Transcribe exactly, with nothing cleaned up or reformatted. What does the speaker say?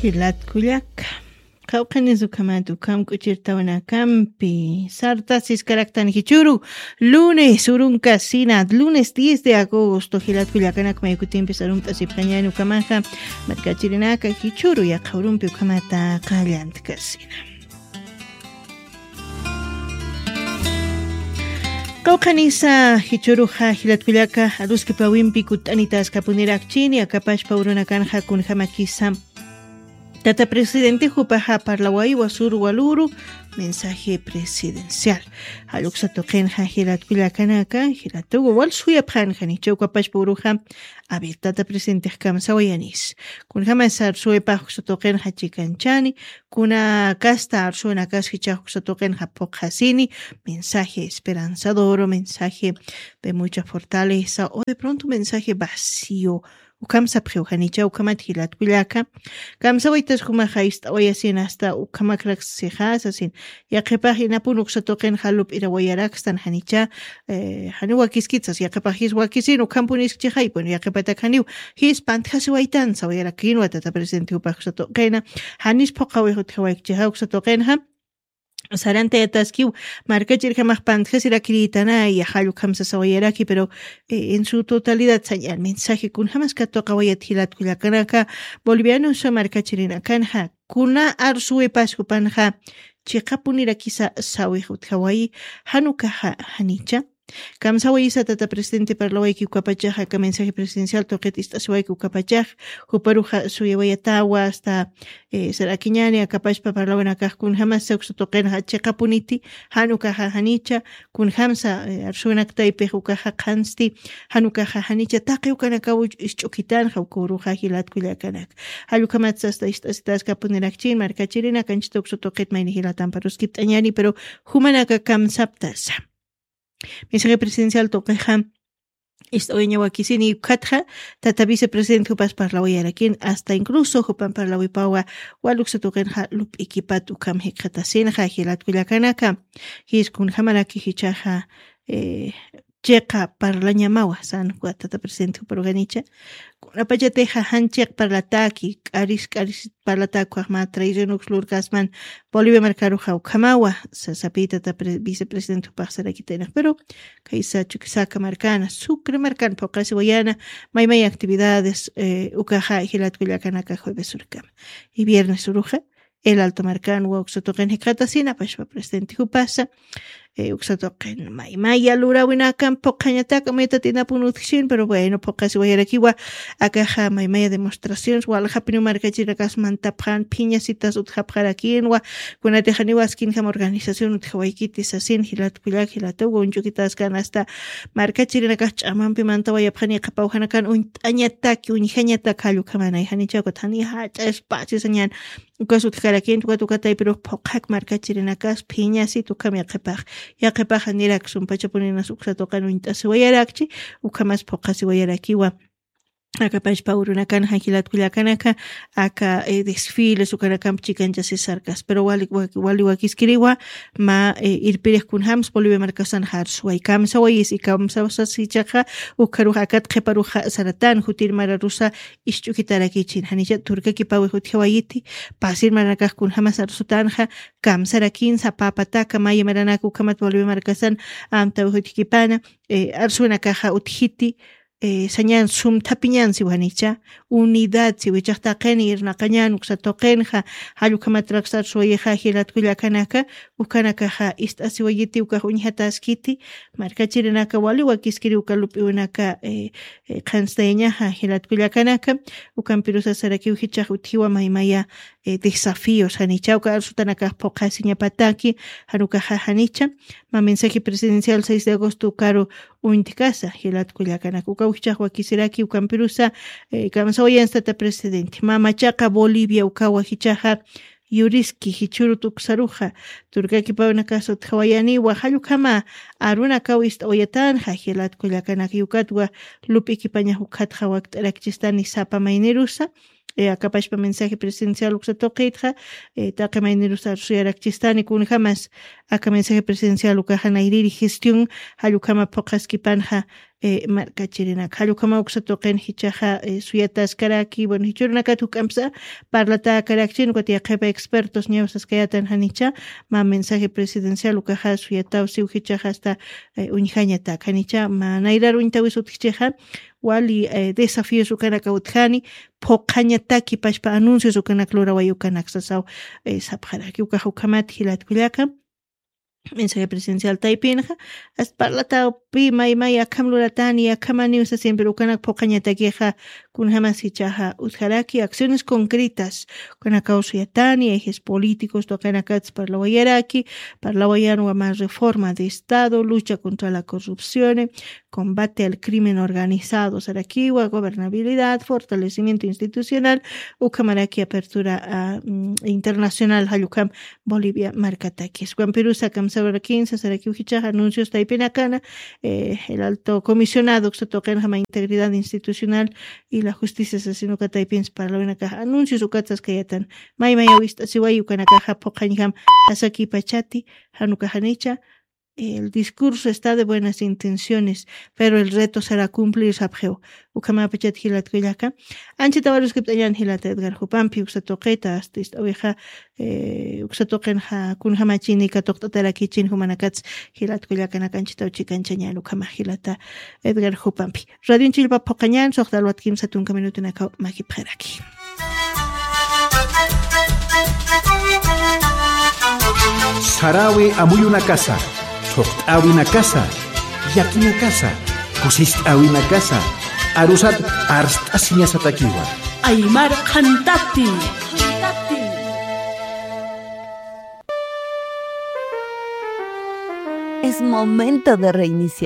Jilatkullaka, qawqhanis ukhamat ukham k'uchirtawanakampi sartasis karaktan jichuru. Lunes urunkasina, lunes diez de agosto, jilatkullakanak maykutimpis arump'asipxañani ukhamaxa. Markachirinaka jichuru yaqha urumpi ukhamata qallantkasina. Qawqhanisa jichuruxa jilatkullaka, aruskipawimpi kutt'anitaskapunirakchini akapashpa urunakanxa kunjamakisa. Tata presidente jupaxa parlawaywa sur waluru. Mensaje presidencial. Jalluksa tuqinxa jilatkullakanaka jilatugu wal suyapxanxa nichawkapashpa uruxa. Aver, tata presidente kamsawayanis. Kunjamas arsuwipax uksa tuqinxa chikanchani. Kuna kasta arsuwinakas jichax uksa tuqinxa phuqhasini. Mensaje esperanzador, mensaje de mucha fortaleza o de pronto mensaje vacío. Ukham sapxiw janicha ukhamat jilatkullaka. Kamsawaytas jumaxa ist'awayasin asta ukhamakrak sixasasin. Yaqhipax inapun uksa tuqinxa lup'irawayarakstan janicha. Jani wakiskitsas yaqhipaxis wakisin ukhampuniskchixay, bueno, yaqhipatak janiw jis pantjasiwaytan sawayarakinwa tata presidente jupax uksa tuqina. Janis phuqhawix utjawaykchixa uksa tuqinxa. Sarantayataskiw markachirjamax pantjasirakiritanaya jallukhamsa sawayaraki pero en su totalidad sañan mensaje kunjamas katuqawayat jilatkullakanaka. Bolivianusa markachirinakanxa kuna arsuwipas jupanxa chiqapunirakisa sawix utjawayi. Janukaxa janicha. Kamsawayisa tata presidente parlawayki ukapachax aka mensaje presidencial tuqit ist'asiwayki ukapachax. Juparuxa suyawayatawa asta sarakiñani akapashpa parlawanakaxkun jamasa uksa tuqinxa chiqapuniti. Janukaxa janicha. Kun jamsa arsuwinaktaypix ukaxa qhansti. Janukaxa janicha taqi ukanakaw isch'ukitanxa uka uruxa jilatkullakanaka. Jallukhamatsa asta ist'asitaskapunirakchin markachirinakanchita uksa tuqit mayni jilatampa ruskipt'añani pero jumanaka kamsaptasa. Mensaje presidencial tuqixa ist'awiñawakisini ukhatxa tata vicepresidente jupas parlawayarakin asta incluso jupan parlawipawa. Waluksa tuqinxa lup'ikipat ukham jikxatasinxa jilatkullakanaka. Jis kunjamaraki jichaxa chiqa parlañamawa san juwa tata presidente juparuganicha. Kunapachatixa jan chiq parlataki k'aris k'aris parlatakuxma traicionux lurkasman. Bolivia markaruxa ukhamawa sasapitata vicepresidente jupaxsarakitaynax pero kaysa chukisaka markana sucre markan phuqasiwayana. Maymay actividades ukaxa jilatkullakanaka jueves urkama y viernes uruxa. El alto markan wawksa tuqin jikxatasina pashpa presidente jupasa. Uksa tuqin maymaya lurawinakan phuqañataka muyatatinapun utjchin pero bueno phuqasiwayarakiwa. Akaxa maymaya demostraciones waljapiniw markachirinakas mantapxan phiñasitas utjapxarakinwa. Kunatixaniwa askinjam organización utjawaykiti sasin jilatkullak jilatuwa uñch'ukitaskan asta markachirinakax ch'amampi mantawayapxani qhapawjanakan uñt'añataki uñjañatak jallukhamanay janichawkat jani jach'a espacio sañan. Ukas utjkarakinta ukat ukataypirux phuqhak markachirinakas phiñasit ukham yaqhipax. Yaqhipaxa nirak sumpachapuninas uksa tuqin uñt'asiwayarakchi ukhamas phuqhasiwayarakiwa. Akapashpa urunakan janjilatkullakanaka aka desfiles ukanakamp chikanchasisarkas pero wali wakiskiriwa. Ma irpirix kunjams bolivia markasan jarsuway kamsawayis y kamsawasasichaqa ukharux akat qhiparuxa saratan jutir mararusa. Isch'ukitarakichin janicha turkakipawix utjawayiti. Pasir maranakax kunjamas arsutanxa kamsarakinsa papataka maya maranaka ukhamat bolivia markasan amtawix utjkipana. Arsuwanakaxa utjiti sañan sumthapiñan siwanicha. Unidad siwichax taqini irnaqañan uksa tuqinxa. Jallukhamatraksa arsuwayixa jilatkullakanaka ukanakaxa ist'asiwayiti ukax uñjataskiti. Markachirinaka wali wakiskiri uka lup'iwinaka qhanstayañaxa jilatkullakanaka. Ukampirusasarakiw jichax utjiwa maymaya desafíos janicha uka arsutanakax phuqhasiñapataki. Janukaxa janicha. Ma mensaje presidencial seis de agosto ukaru uñtkasa jilatkullakanaka ukaw jichax wakisiraki ukampirusa kamsawayanstata presidente mamachaqa bolivia ukawa jichaxa. Yuriski jichhurut uksaruxa turkakipawnakas utjawayaniwa jallukhama arunakaw ist'awayatanxa jilatkullakanaka yukatwa. Lup'ikipañax ukhatxa wakt'arakchistani sapa maynirusa. Akapashpa mensaje presidencial uksa tuqitxa taqi maynirusa arsuyarakchistani kunjamas aka mensaje presidencial ukaxa nayriri gestión jallukhama phuqhaskipanxa. eh, markachirinak. Jallukama uksa tuqin jichaxa, eh, suyataskaraki, bueno, jichurinakat juk'ampsa parlatakaraki, chin, ukat yaqhipa expertos ñawsaskayatan janicha, ma mensaje presidencial ukaxa suyataw siw jichaxa hasta, eh, uñjañatak janicha, ma nayrar uñtawis utjichixa, wali, eh, desafíos ukanaka utjani, phuqhañataki pachpa anuncios ukanak luraway ukanak sasaw, eh, sapxaraki. Ukaxa ukhamat jilatkullaka, mensaje presidencial taypinxa, hasta parlataw pi may may akham luratani, akhamaniw sasien, pero ukanak phuqhañatakixa, kunjamas jichaxa utjaraki, acciones concretas, ukanakaw suyatani, ejes políticos, tuqinakats parlawayaraki, parlawayanwa más reforma de Estado, lucha contra la corrupción, combate al crimen organizado, sarakiwa, gobernabilidad, fortalecimiento institucional, ukhamaraki apertura, ah, mm, internacional, jallukam Bolivia markatakis. Juan Perú Sacam Sabra quince, sarakiw jichaxa anuncios taypinakana, eh, el alto comisionado, uksa tuqinjama integridad institucional y la justicia sasinuka taypins parlawinakaxa anuncios ukatsaskayatan. May may awist'asiway ukanakaxa phuqhañjam asaki pachati, januka janicha, el discurso está de buenas intenciones, pero el reto será cumplir, sapxiw. Ukhamapachat jilatkullaka. Anchita waruskipt'añan jilata Edgar Jupampi, uksa tuqita, hasta ist'awixa, eh, uksa tuqinxa, kunjamachini katuqt'atarakichin jumanakats jilatkullakanaka anchita uchikanchañan ukhama jilata Edgar Jupampi. Radio Chillpa phuqhañan, suxta alwat kimsa tunka minutunakaw makipxaraki. Sarawi amuyunakasa, thuqt'awinakasa, yakinakasa, kusist'awinakasa, arusat arst'asiñasatakiwa. Aymar Qhantati. Es momento de reiniciar.